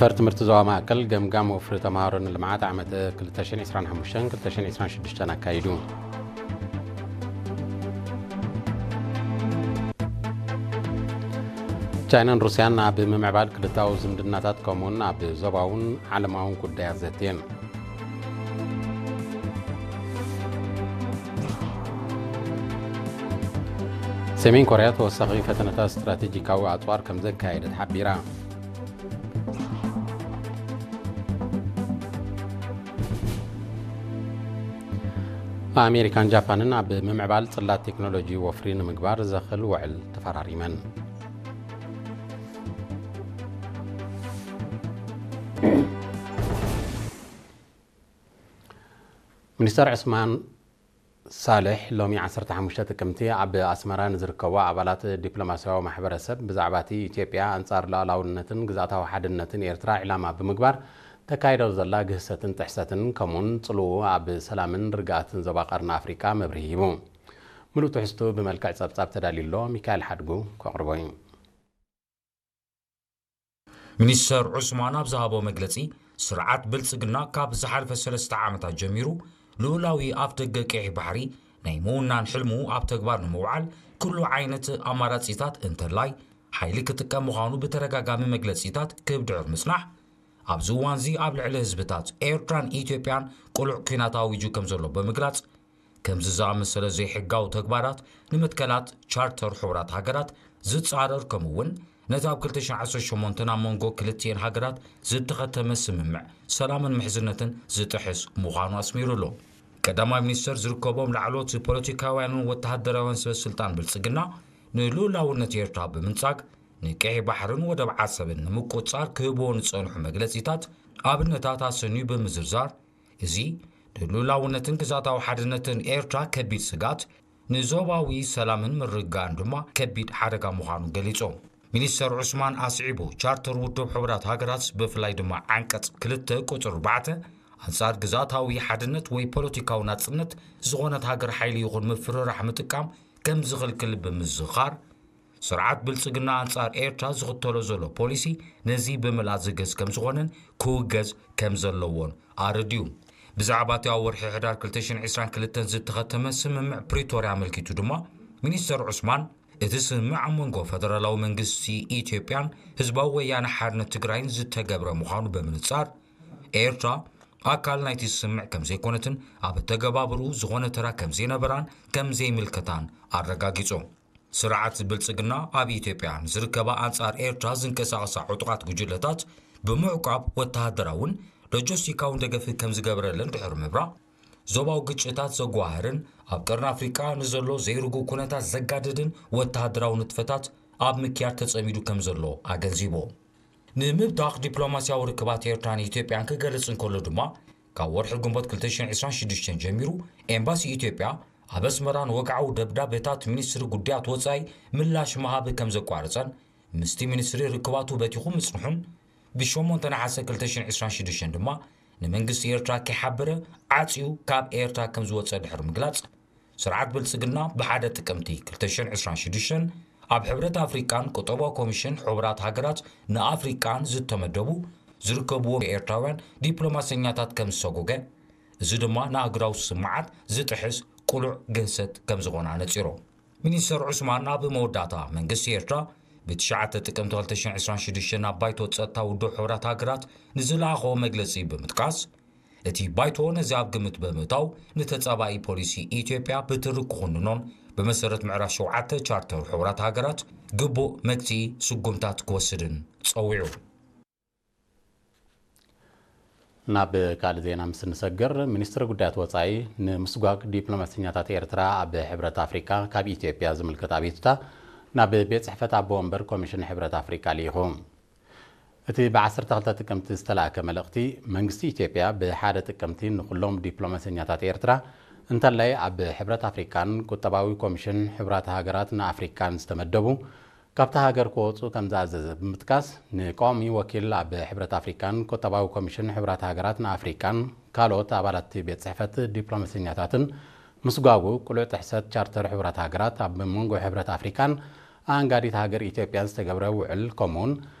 ፈር ትምህርቲ ዞባ ማእከል ገምጋም ወፍሪ ተምሃሮ ንልምዓት ዓመት ክልተ ሽሕን ዕስራን ሓሙሽተን ክልተ ሽሕን ዕስራን ሽዱሽተን ኣካይዱ። ቻይናን ሩስያን ኣብ ምምዕባል ክልታዊ ዝምድናታት ከምኡውን ኣብ ዞባውን ዓለማውን ጉዳያት ዘትየን። ሰሜን ኮርያ ተወሳኺ ፈተነታት ስትራቴጂካዊ ኣጽዋር ከም ዘካየደት ሓቢራ። ኣሜሪካን ጃፓንን ኣብ ምምዕባል ጽላት ቴክኖሎጂ ወፍሪ ንምግባር ዘኽእል ውዕል ተፈራሪመን። ሚኒስተር ዑስማን ሳልሕ ሎሚ ዓሰርተ ሓሙሽተ ጥቅምቲ ኣብ ኣስመራ ንዝርከቡ ኣባላት ዲፕሎማስያዊ ማሕበረሰብ ብዛዕባ እቲ ኢትዮጵያ ኣንጻር ሉዓላውነትን ግዝኣታዊ ሓድነትን ኤርትራ ዕላማ ብምግባር ተካይዶ ዘላ ግህሰትን ጥሕሰትን ከምኡውን ጽልኡ ኣብ ሰላምን ርግኣትን ዞባ ቀርኒ ኣፍሪቃ መብርሂ ሂቡ። ምሉእ ትሕዝቱ ብመልክዕ ጸብጻብ ተዳልዩ ኣሎ። ሚካኤል ሓድጉ ከቕርቦ እዩ። ሚኒስተር ዑስማን ኣብ ዝሃቦ መግለጺ፣ ስርዓት ብልጽግና ካብ ዝሓለፈ ሰለስተ ዓመታት ጀሚሩ ልኡላዊ ኣፍደገ ቀይሕ ባሕሪ ናይ ምውናን ሕልሙ ኣብ ተግባር ንምውዓል ኩሉ ዓይነት ኣማራጺታት እንተላይ ሓይሊ ክጥቀም ምዃኑ ብተደጋጋሚ መግለጺታት ክብድዕር ምጽናሕ፣ ኣብዚ እዋንዚ ኣብ ልዕሊ ህዝብታት ኤርትራን ኢትዮጵያን ቅሉዕ ኲናት ኣዊጁ ከም ዘሎ ብምግላጽ፣ ከምዚ ዝኣመሰለ ዘይሕጋዊ ተግባራት ንምትከላት ቻርተር ሕቡራት ሃገራት ዝጻረር ከምኡ እውን ነቲ ኣብ ክልተ ሽሕን ዓሰርተ ሸሞንተን ኣብ መንጎ ክልቲኤን ሃገራት ዝተኸተመ ስምምዕ ሰላምን ምሕዝነትን ዝጥሕስ ምዃኑ ኣስሚሩ ኣሎ። ቀዳማይ ሚኒስተር ዝርከቦም ላዕለዎት ፖለቲካውያንን ወተሃደራውያን ሰበ ስልጣን ብልጽግና ንልኡላውነት ኤርትራ ብምንጻግ ንቀይሕ ባሕርን ወደብ ዓሰብን ንምቁጽጻር ክህብዎ ዝጸንሑ መግለጺታት ኣብነታት ኣሰንዩ ብምዝርዛር፣ እዚ ንልኡላውነትን ግዝኣታዊ ሓድነትን ኤርትራ ከቢድ ስግኣት፣ ንዞባዊ ሰላምን ምርግጋእን ድማ ከቢድ ሓደጋ ምዃኑ ገሊጹ። ሚኒስተር ዑስማን ኣስዒቡ፣ ቻርተር ውድብ ሕቡራት ሃገራት ብፍላይ ድማ ዓንቀጽ ክልተ ቁጽሪ ኣርባዕተ ኣንጻር ግዝኣታዊ ሓድነት ወይ ፖለቲካዊ ናጽነት ዝኾነት ሃገር ሓይሊ ይኹን ምፍርራሕ ምጥቃም ከም ዝኽልክል ብምዝኻር፣ ስርዓት ብልጽግና ኣንጻር ኤርትራ ዝኽተሎ ዘሎ ፖሊሲ ነዚ ብምልኣት ዝግህስ ከም ዝኾነን ክውገዝ ከም ዘለዎን ኣረድዩ። ብዛዕባ እቲ ኣብ ወርሒ ሕዳር ክልተ ሽሕን ዕስራን ክልተን ዝተኸተመ ስምምዕ ፕሪቶርያ ኣመልኪቱ ድማ ሚኒስተር ዑስማን፣ እቲ ስምምዕ ኣብ መንጎ ፈደራላዊ መንግስቲ ኢትዮጵያን ህዝባዊ ወያነ ሓርነት ትግራይን ዝተገብረ ምዃኑ ብምንጻር፣ ኤርትራ ኣካል ናይቲ ስምምዕ ከም ዘይኮነትን ኣብ ኣተገባብርኡ ዝኾነ ተራ ከም ዘይነበራን ከም ዘይምልከታን ኣረጋጊጹ። ስርዓት ብልጽግና ኣብ ኢትዮጵያ ንዝርከባ ኣንጻር ኤርትራ ዝንቀሳቐሳ ዕጡቓት ጉጅለታት ብምዕቋብ ወተሃደራውን ሎጂስቲካውን ደገፍ ከም ዝገብረለን ድሕሪ ምብራቕ፣ ዞባዊ ግጭታት ዘጓህርን ኣብ ቀርኒ ኣፍሪቃ ንዘሎ ዘይርጉእ ኩነታት ዘጋድድን ወተሃደራዊ ንጥፈታት ኣብ ምክያድ ተጸሚዱ ከም ዘሎ ኣገንዚቡ። ንምብታኽ ዲፕሎማስያዊ ርክባት ኤርትራን ኢትዮጵያን ክገልጽ እንከሎ ድማ፣ ካብ ወርሒ ግንቦት ክልተ ሽሕን ዕስራን ሽዱሽተን ጀሚሩ ኤምባሲ ኢትዮጵያ ኣብ ኣስመራ ንወግዓዊ ደብዳቤታት ሚኒስትሪ ጉዳያት ወጻኢ ምላሽ ምሃብ ከም ዘቋረጸን ምስቲ ሚኒስትሪ ርክባቱ በቲኹ ምጽንሑን፣ ብሸሞንተ ነሓሰ ክልተ ሽሕን ዕስራን ሽዱሽተን ድማ ንመንግስቲ ኤርትራ ከይሓበረ ዓጽዩ ካብ ኤርትራ ከም ዝወጸ ድሕሪ ምግላጽ፣ ስርዓት ብልጽግና ብሓደ ጥቅምቲ ክልተ ሽሕን ዕስራን ሽዱሽተን ኣብ ሕብረት ኣፍሪቃን ቁጠባዊ ኮሚሽን ሕቡራት ሃገራት ንኣፍሪቃን ዝተመደቡ ዝርከብዎም ኤርትራውያን ዲፕሎማሰኛታት ከም ዝሰጎገ፣ እዚ ድማ ንኣህጉራዊ ስምምዓት ዝጥሕስ ቅሉዕ ግህሰት ከም ዝኾነ ኣነጺሩ። ሚኒስተር ዑስማን ኣብ መወዳእታ፣ መንግስቲ ኤርትራ ብትሽዓተ ጥቅምቲ ክልተ ሽሕን ዕስራን ሽዱሽተን ኣብ ባይቶ ጸጥታ ውድብ ሕቡራት ሃገራት ንዝለኣኾ መግለጺ ብምጥቃስ፣ እቲ ባይቶ ነዚ ኣብ ግምት ብምእታው ንተጻባኢ ፖሊሲ ኢትዮጵያ ብትሪ ክኹንኖን ብመሰረት ምዕራፍ ሸውዓተ ቻርተር ሕቡራት ሃገራት ግቡእ መግትኢ ስጉምታት ክወስድን ጸዊዑ። ናብ ካልእ ዜና ምስ እንሰግር፣ ሚኒስትሪ ጉዳያት ወጻኢ ንምስጓግ ዲፕሎማሰኛታት ኤርትራ ኣብ ሕብረት ኣፍሪቃ ካብ ኢትዮጵያ ዝምልከት ኣቤቱታ ናብ ቤት ጽሕፈት ኣቦ ወንበር ኮሚሽን ሕብረት ኣፍሪቃ ልኢኹ። እቲ ብዓሰርተ ክልተ ጥቅምቲ ዝተላእከ መልእኽቲ፣ መንግስቲ ኢትዮጵያ ብሓደ ጥቅምቲ ንኹሎም ዲፕሎማሰኛታት ኤርትራ እንተላይ ኣብ ሕብረት ኣፍሪቃን ቁጠባዊ ኮሚሽን ሕቡራት ሃገራት ንኣፍሪካን ዝተመደቡ ካብታ ሃገር ክወፁ ከም ዝኣዘዘ ብምጥቃስ፣ ንቀዋሚ ወኪል ኣብ ሕብረት ኣፍሪካን ቁጠባዊ ኮሚሽን ሕቡራት ሃገራት ንኣፍሪካን ካልኦት ኣባላት ቤት ጽሕፈት ዲፕሎማሰኛታትን ምስጓጉ ቅሉዕ ጥሕሰት ቻርተር ሕቡራት ሃገራት ኣብ መንጎ ሕብረት ኣፍሪካን ኣኣንጋዲት ሃገር ኢትዮጵያን ዝተገብረ ውዕል ከምኡውን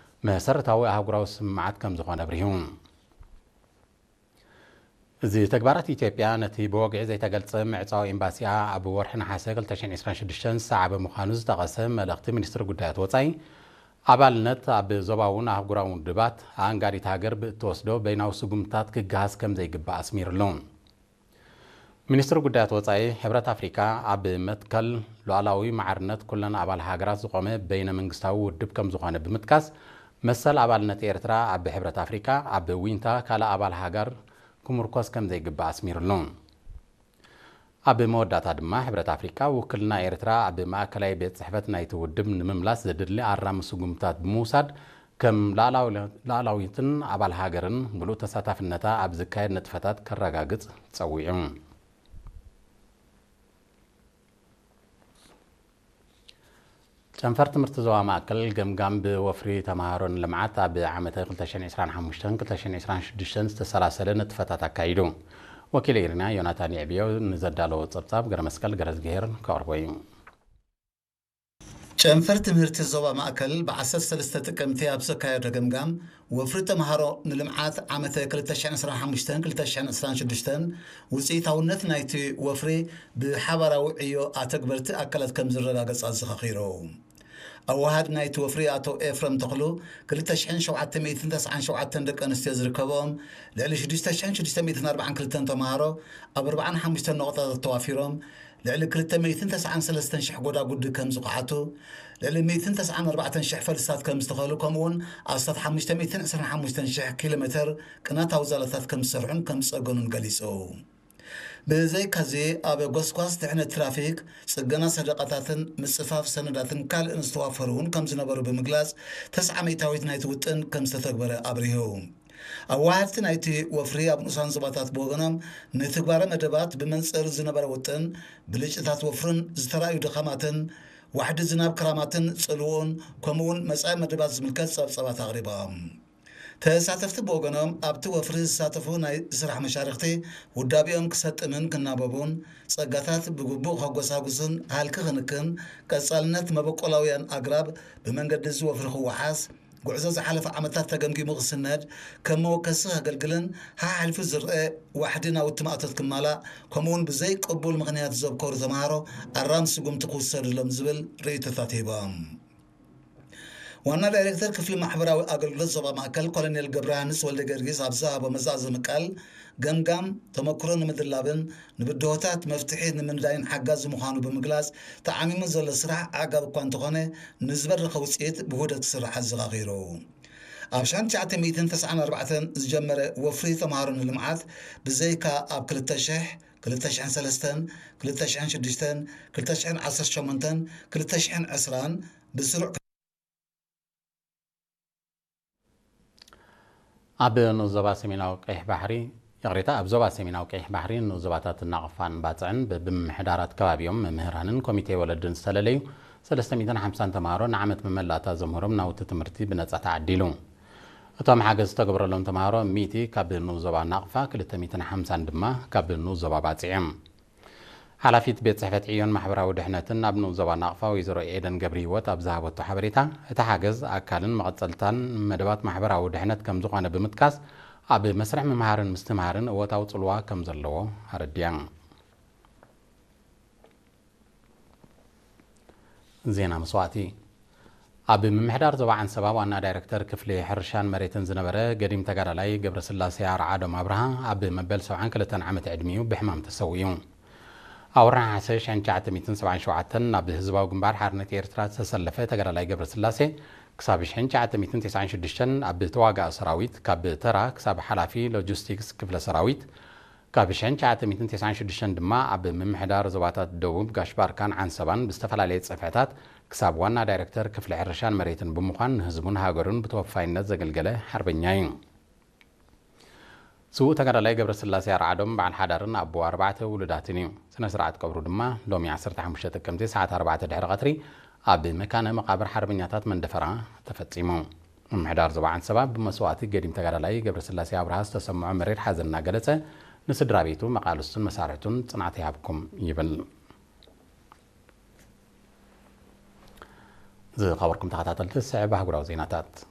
መሰረታዊ ኣህጉራዊ ስምምዓት ከም ዝኾነ ኣብሪሁ። እዚ ተግባራት ኢትዮጵያ ነቲ ብወግዒ ዘይተገልጸ ምዕጻው ኤምባሲኣ ኣብ ወርሒ ነሓሰ ክልተ ሽሕን ዕስራን ሽዱሽተን ዝሰዓበ ምዃኑ ዝጠቐሰ መልእኽቲ ሚኒስትሪ ጉዳያት ወጻኢ፣ ኣባልነት ኣብ ዞባውን ኣህጉራውን ውድባት ኣኣንጋዲት ሃገር ብእትወስዶ በይናዊ ስጉምትታት ክገሃስ ከም ዘይግባእ ኣስሚሩሉ። ሚኒስትሪ ጉዳያት ወጻኢ ሕብረት ኣፍሪካ ኣብ መትከል ሉዓላዊ ማዕርነት ኩለን ኣባል ሃገራት ዝቖመ በይነ መንግስታዊ ውድብ ከም ዝኾነ ብምጥቃስ፣ መሰል ኣባልነት ኤርትራ ኣብ ሕብረት ኣፍሪካ ኣብ ዊንታ ካልእ ኣባል ሃገር ክምርኮስ ከም ዘይግባእ ኣስሚሩሉ። ኣብ መወዳእታ ድማ ሕብረት ኣፍሪካ ውክልና ኤርትራ ኣብ ማእከላይ ቤት ጽሕፈት ናይቲ ውድብ ንምምላስ ዘድሊ ኣራሚ ስጉምታት ብምውሳድ ከም ላዕላዊ-፣ ላዕላዊትን ኣባል ሃገርን ምሉእ ተሳታፍነታ ኣብ ዝካየድ ንጥፈታት ከረጋግጽ ጸዊዑ። ጨንፈር ትምህርቲ ዞባ ማእከል ገምጋም ብወፍሪ ተምሃሮ ንልምዓት ኣብ ዓመተ ክልተ ሽሕን ዕስራን ሓሙሽተን ክልተ ሽሕን ዕስራን ሽዱሽተን ዝተሰላሰለ ንጥፈታት ኣካይዱ። ወኪል ኤሪና ዮናታን የዕብዮ ንዘዳለዎ ጸብጻብ ገረመስቀል ገረዝግሄር ከቕርቦ እዩ። ጨንፈር ትምህርቲ ዞባ ማእከል ብዓሰርተ ሰለስተ ጥቅምቲ ኣብ ዘካየዶ ገምጋም፣ ወፍሪ ተምሃሮ ንልምዓት ዓመተ ክልተ ሽሕን ዕስራን ሓሙሽተን ክልተ ሽሕን ዕስራን ሽዱሽተን ውጽኢታውነት ናይቲ ወፍሪ ብሓባራዊ ዕዮ ኣተግበርቲ ኣካላት ከም ዝረጋገጽ ኣዘኻኺሩ። ኣወሃድ ናይቲ ወፍሪ ኣቶ ኤፍረም ተኽሉ፣ ክልተ ሽሕን ሸውዓተ ሚእትን ተስዓን ሸውዓተን ደቂ ኣንስትዮ ዝርከብኦም ልዕሊ ሽዱሽተ ሽሕን ሽዱሽተ ሚእትን ኣርባዓን ክልተን ተምሃሮ ኣብ ኣርባዓን ሓሙሽተን ነቑጣታት ተዋፊሮም፣ ልዕሊ ክልተ ሚእትን ተስዓን ሰለስተን ሽሕ ጎዳጉዲ ከም ዝኸሓቱ፣ ልዕሊ ሚእትን ተስዓን ኣርባዕተን ሽሕ ፈልስታት ከም ዝተኸሉ፣ ከምኡውን ኣስታት ሓሙሽተ ሚእትን ዕስራን ሓሙሽተን ሽሕ ኪሎ ሜተር ቅናታዊ ዛላታት ከም ዝሰርሑን ከም ዝጸገኑን ገሊጹ። ብዘይካዚ፣ ኣብ ጎስጓስ ድሕነት ትራፊክ፣ ጽገና ሰደቓታትን ምጽፋፍ ሰነዳትን ካልእን ዝተዋፈሩ እውን ከም ዝነበሩ ብምግላጽ፣ ተስዓ ሚእታዊት ናይቲ ውጥን ከም ዝተተግበረ ኣብሪሁ። ኣዋሃድቲ ናይቲ ወፍሪ ኣብ ንኡሳን ዞባታት ብወገኖም፣ ንትግባረ መደባት ብመንጽር ዝነበረ ውጥን፣ ብልጭታት ወፍርን ዝተራእዩ ድኻማትን፣ ዋሕዲ ዝናብ ክራማትን ጽልውኡን፣ ከምኡውን መጻኢ መደባት ዝምልከት ጸብጻባት ኣቕሪቦም። ተሳተፍቲ ብወገኖም፣ ኣብቲ ወፍሪ ዝሳተፉ ናይ ስራሕ መሻርኽቲ፣ ውዳቤኦም ክሰጥምን ክናበቡን፣ ጸጋታት ብግቡእ ከጎሳጉስን ሃልኪ ክንክን፣ ቀጻልነት መበቆላውያን ኣግራብ ብመንገዲ እዚ ወፍሪ ክወሓስ፣ ጉዕዞ ዝሓለፈ ዓመታት ተገምጊሙ ክስነድ፣ ከም መወከሲ ከገልግልን፣ ሓሓሊፉ ዝረአ ዋሕዲ ናውቲ ማእቶት ክማላእ፣ ከምኡውን ብዘይ ቅቡል ምኽንያት ዘብከሩ ተምሃሮ ኣራም ስጉምቲ ክውሰድሎም ዝብል ርእይቶታት ሂቦም። ዋና ዳይሬክተር ክፍሊ ማሕበራዊ ኣገልግሎት ዞባ ማእከል ኮሎኔል ገብረሃንስ ወልደ ጊዮርጊስ ኣብ ዝሃቦ መዛዘሚ ቃል፣ ገምጋም ተመክሮ ንምድላብን ንብድሆታት መፍትሒ ንምንዳይን ሓጋዚ ምዃኑ ብምግላጽ፣ ተዓሚሙ ዘሎ ስራሕ ኣዕጋቢ እኳ እንተኾነ፣ ንዝበረኸ ውጽኢት ብውህደት ክስራሕ ኣዘኻኺሩ። ኣብ ሽሕን ትሽዓተ ሚእትን ተስዓን ኣርባዕተን ዝጀመረ ወፍሪ ተምሃሮ ንልምዓት፣ ብዘይካ ኣብ ክልተ ሽሕ፣ ክልተ ሽሕን ሰለስተን፣ ክልተ ሽሕን ሽዱሽተን፣ ክልተ ሽሕን ዓሰርተ ሸሞንተን፣ ክልተ ሽሕን ዕስራን ብስሩዕ ኣብ ንኡስ ዞባ ሰሜናዊ ቀይሕ ባሕሪ፣ ይቕሬታ፣ ኣብ ዞባ ሰሜናዊ ቀይሕ ባሕሪ ንኡስ ዞባታት ናቕፋን ባጽዕን በብምምሕዳራት ከባቢኦም መምህራንን ኮሚቴ ወለድን ዝተለለዩ ሰለስተ ሚእትን ሓምሳን ተምሃሮ ንዓመት መመላእታ ዘምህሮም ናውቲ ትምህርቲ ብነጻ ተዓዲሉ። እቶም ሓገዝ ዝተገብረሎም ተምሃሮ ሚእቲ ካብ ንኡስ ዞባ ናቕፋ፣ ክልተ ሚእትን ሓምሳን ድማ ካብ ንኡስ ዞባ ባጽዕ እዮም። ሓላፊት ቤት ጽሕፈት ዕዮን ማሕበራዊ ድሕነትን ኣብ ንኡስ ዞባ ናቕፋ ወይዘሮ ኤደን ገብረሂወት ኣብ ዝሃበቶ ሓበሬታ፣ እቲ ሓገዝ ኣካልን መቐጸልታን መደባት ማሕበራዊ ድሕነት ከም ዝኾነ ብምጥቃስ፣ ኣብ መስርሕ ምምሃርን ምስትምሃርን እወታዊ ጽልዋ ከም ዘለዎ ኣረዲያ። ዜና መስዋእቲ። ኣብ ምምሕዳር ዞባ ዓንሰባ ዋና ዳይሬክተር ክፍሊ ሕርሻን መሬትን ዝነበረ ገዲም ተጋዳላይ ገብረስላሴ ኣርዓዶም ኣብርሃ ኣብ መበል ሰብዓን ክልተን ዓመት ዕድሚኡ ብሕማም ተሰዊኡ። ኣብ ወርሒ ነሓሰ ሽሕን ትሽዓተ ሚእትን ሰብዓን ሸውዓተን ናብ ህዝባዊ ግንባር ሓርነት ኤርትራ ዝተሰለፈ ተጋዳላይ ገብረስላሴ፣ ክሳብ ሽሕን ትሽዓተ ሚእትን ተስዓን ሽዱሽተን ኣብ ተዋጋኢ ሰራዊት፣ ካብ ተራ ክሳብ ሓላፊ ሎጂስቲክስ ክፍለ ሰራዊት፣ ካብ ሽሕን ትሽዓተ ሚእትን ተስዓን ሽዱሽተን ድማ ኣብ ምምሕዳር ዞባታት ደቡብ፣ ጋሽ ባርካን ዓንሰባን ብዝተፈላለየ ጽፍሕታት ክሳብ ዋና ዳይሬክተር ክፍሊ ሕርሻን መሬትን ብምዃን ንህዝቡን ሃገሩን ብተወፋይነት ዘገልገለ ሓርበኛ እዩ። ስዉእ ተጋዳላይ ገብረስላሴ ኣርዓዶም በዓል ሓዳርን ኣቦ ኣርባዕተ ውሉዳትን እዩ። ስነ ስርዓት ቀብሩ ድማ ሎሚ ዓሰርተ ሓሙሽተ ጥቅምቲ ሰዓት ኣርባዕተ ድሕሪ ቀትሪ ኣብ መካነ መቃብር ሓርበኛታት መንደፈራ ተፈጺሙ። ምምሕዳር ዞባ ዓንሰባ ብመስዋእቲ ገዲም ተጋዳላይ ገብረስላሴ ኣብርሃ ዝተሰምዖ መሪር ሓዘን እናገለጸ፣ ንስድራ ቤቱ፣ መቃልስቱን መሳርሕቱን ጽንዓት ይሃብኩም ይብል። ዝኸበርኩም ተኸታተልቲ፣ ዝስዕብ ኣህጉራዊ ዜናታት።